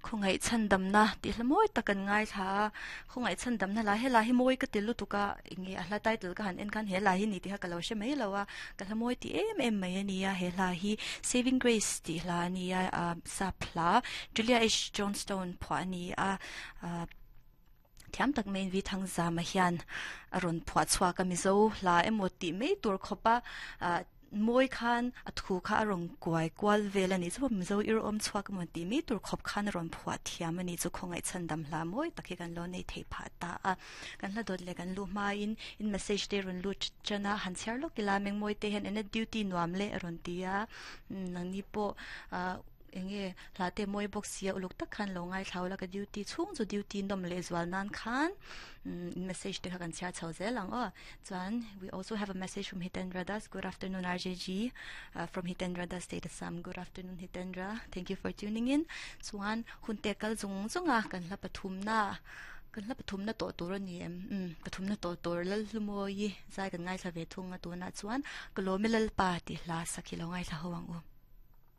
Khawngaih chhandamna tih hla mawi tak kan ngaithla a, khawngaih chhandamna lah helai hi mawi ka ti lutuk a, enge a hla title ka han en khan he hla hi ni tih kha ka lo hre mai lo a, ka hla mawi ti em em mai a ni a, he hla hi Saving Grace tih hla a ni a, ah sap hla Julia H Johnstone phuah a ni a, ah thiam tak maiin V Thangzama hian a rawn phuah chhuak a, Mizo hla emaw tih mai tur khawp a, ah. Mawi khan a thu kha a rawn kuai kual vel a nih chu Mizo ir awm chhuak emaw tih mai tur khawp khan a rawn phuah thiam a nih chu khawngaih chhandam hla mawi tak hi kan lo nei thei phah ta a. Kan hla dawt leh kan luh hmain in message te rawn lut tan a, han chhiar lawk ila Mengmawi te hian ena duty nuam leh a rawn ti a, nangni pawh ah eng nge hla te mawi bawk sia uluk tak khan lo ngaithla ula ka duty chhung chu duty nawm leh zual nan khan in message te kha kan chhiar chho zel ang aw. Chuan we also have a message from Hitendra Das. Good afternoon RJG uh, from Hitendra Das State Assam. Good afternoon Hitendra. Thank you for tuning in. Chuan hun te kal zung zunga kan hla pathum na kan hla pathum na to tur ani em. Um pathum na to tur lal hlumawi zai kan ngaithla ve thung a tuna chuan ka lawmi lalpa ti hla sakhi lo ngaithla ho ang u.